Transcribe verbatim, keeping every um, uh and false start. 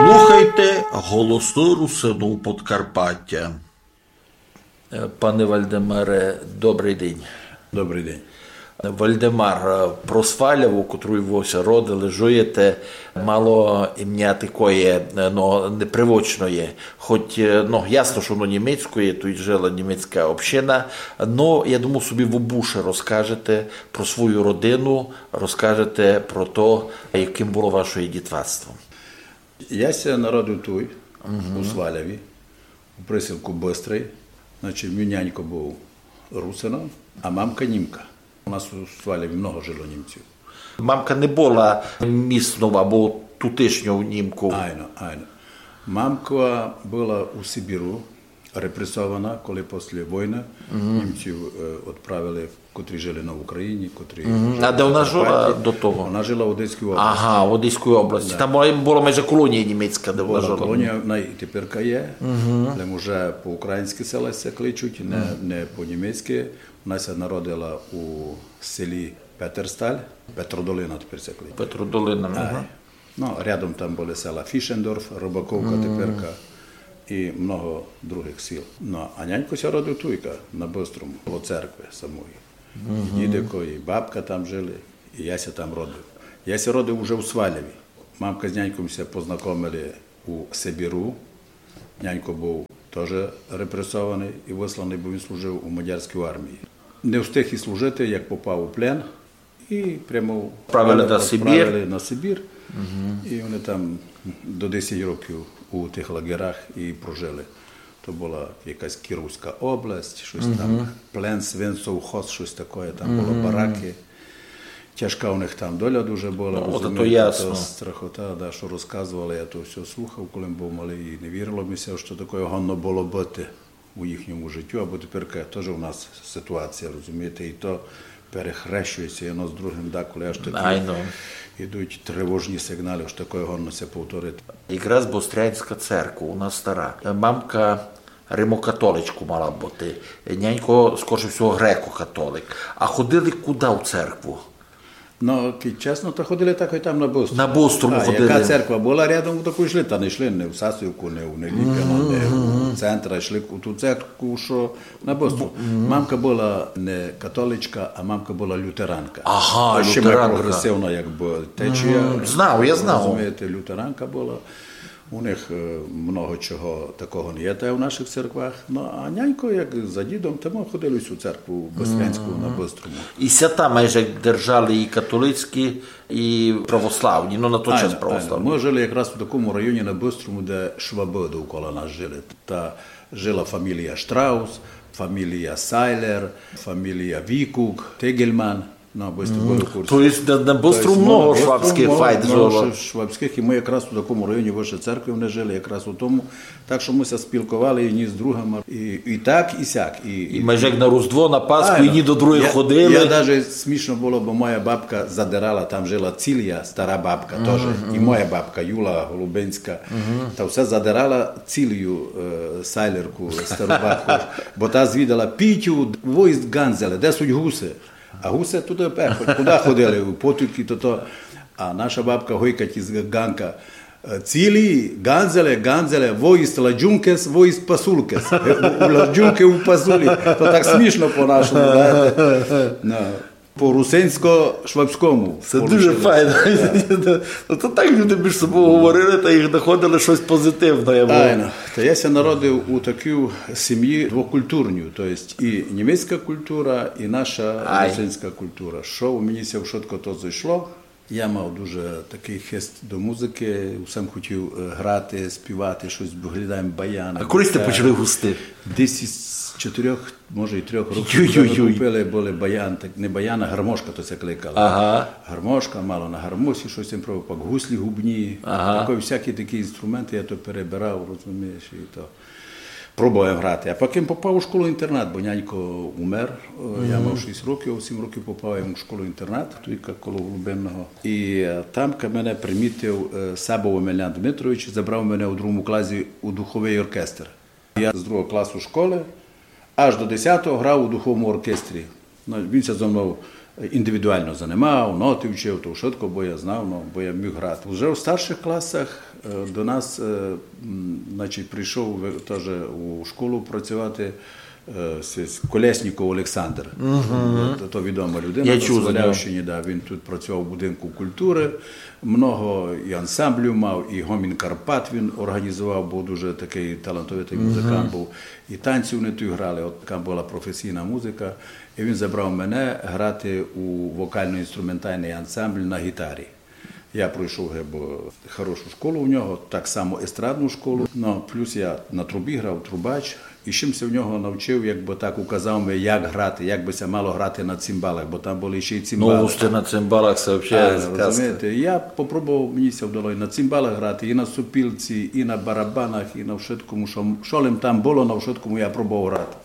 Слухайте Голосы Русинув Подкарпатя. Е, пане Вальдемаре, добрый день. Добрый день. Вальдемар, е, про Сваляву, котру вы ся родили, жуєте, мало імня такоє, е, но, непривычноє. Хоть, е, но, ясно, што воно німецькоє, туй жила німецька община, но, я думав собі, вы бульше розкажете про свою родину, розкажете про то, якым было вашоє дітвацтво. Я ся народив туй, у Сваляві, у присілку Быстрый. Значить, мій нянько быв русином, а мамка німка. У нас у Сваляві много жило німців. Мамка не была міснов або тутешньов німков? Айно, айно. Мамка была у Сибіру репресована, коли після войны німців, е, відправили, котрі жили на Україні, котрі жили на Карпаті. А де вона жила до того? Вона жила в Одеській області. Ага, в Одеській області. Да. Там была, была майже колонія німецька, де вона жила. Была колонія, вона і теперка є, але уже по-українськи села ся кличуть, не, не по-німецьки. Вона ся народила у селі Петерсталь, Петродолина тепер ся кличе. Петродолина, ага. Ну, рядом там были села Фішендорф, Рыбаковка теперка і много другых сіл. Ну, а нянько ся родив туйка, на Быстрому, коло церкви самої. І дідико, і бабка там жили, і я ся там родив. Я ся родив уже у Сваляві. Мамка з няньком ся познакомили у Сибіру. Нянько быв тоже репресованый і высланый, бо він служив у мадярській армії. Не встиг і служити, як попав у плен, і прямо відправили на Сибір. І вони там до десять років у тых лагерах і прожили. То была якась Кіровська область, штось там, плен Свинцовхоз, штось такоє, там были бараки. Тяжка у них там доля дуже была, розумієте, то страхота, да, што розказовали, я то всьо слухав, коли быв малый, і не вірило ми ся, што такоє годно было быти у їхньому життю, або теперка тоже у нас ситуація, розумієте, і то перехрещує ся одно з другым, деколи аж такі ідуть тривожні сигналы, што такоє годно ся повторити. Якраз Бострянська церква, у нас стара. Мамка римокатоличку мала быти, нянько, скорше всього, греко-католик. А ходили куды в церкву? Ну, кидь чесно, то ходили так і там на Быстрому. На Быстрому ходили. А яка церква была рядом, у таку йшли, та не йшли ні в Сасівку, ні в Неліпино, ні в центр, а йшли у ту церкву, што на Быстрому. Мамка была не католичка, а мамка была лютеранка. Ага, лютеранка. Ще май прогресивна, якбы, течія. Знав, я знав. Розумієте, лютеранка была. У них, е, много чого такого не є, та й у нашых церквах. Ну, а нянько, як за дідом, та мы ходили в сю церкву Быстрянську на Быстрому. І свята майже держали і католицькі, і православні, ну, на той час православні. Айно, айно. Мы жили якраз у такому районі на Быстрому, де швабы довкола нас жили. Та жила фамілія Штраус, фамілія Сайлер, фамілія Вікук, Тегельман. Ну, бо сьте были в курсі. То єсть на, на Быстрому много швабськых файт жило. Швабськых, і мы якраз у такому районі выше церкви вони жили, якраз у тому. Так што мы ся спілковали і ні з другами, і, і так, і сяк. І, і майже як на Різдво, на Пасху, і ні до другых ходили. Я даже смішно было, бо моя бабка задирала, там жила Цілія, стара бабка тоже. І моя бабка Юла Голубинська. Та все задирала Цілію, е, Сайлерку, стару бабку. Бо та звідала: Пітю, во єст ґанзеле, де суть гуси? А гуси туды, е, хоть куды ходили, у потік і тото. А наша бабка гойкать із ґанка: е, Цілі, ґанзеле, ґанзеле, во єст ладюнкес, во єст пасулкес. Е, у, у ладюнки, у пасулі. То так смішно по-нашому, знаєте. Ну, по-русинсько-швабському. Се дуже файно. Ну, то так люди між собою говорили та їх находили штось позитивне. Айно. Та я ся народив у такій сімї двокультурній, то єсть і німецька культура, і наша русинська культура. Што у мені ся вшытко то зайшло. Я мав дуже такый хист до музыкы, усім хотів, е, грати, співати штось, бо глядав баян. А коли сьте почали густи? Десь із чотирьох, може, і трьох років. Йой-йой-йой. Купили были баян, так, не баян, а гармошка то ся кликала. Ага. Гармошка, мало на гармошці штось там пробовав, пак гуслі губні, такой, всякі такі інструменты, я то перебирав, розумієш, і то пробовав грати. А потім попав у школу-інтернат, бо нянько умер. Е, я мав шість років, а в сім років попав я у школу-інтернат, туйка коло Голубинного. І, е, тамка мене примітив, е, Сабов Омелян Дмитрович, забрав мене у другому класі у духовый оркестр. Я з другого класу школы аж до десятого грав у духовому оркестрі. Ну, він ся зо мнов індивідуално занимав, ноты вчив, то вшытко, бо я знав, но, бо я міг грати. Уже у старшых класах е, до нас е, м, значить, прийшов ви- тоже у школу працювати е, с- с- Колєсніков Олександр. Е, То, то відома людина Я на чув за нього. Свалявщині, да, він тут працював у будинку культури. Много і ансамблів мав, і Гомін Карпат він організував, бо дуже такий талантовитий музикант був. І танці вони тут грали, от така була професійна музика. І він забрав мене грати у вокально-інструментальний ансамбль на гітарі. Я пройшов гебо хорошу школу у нього, так само естрадну школу. Ну, плюс я на трубі грав, трубач. І чим ся в нього навчив, якби так указав ми, як грати, як би ся мало грати на цимбалах, бо там були ще й цимбали. Ну, сте на цимбалах, се вообще А, сказка. Розумієте, я попробував, мені ся вдало і на цимбалах грати, і на сопілці, і на барабанах, і на вшыткому, що, що лим там було, на вшыткому я пробував грати.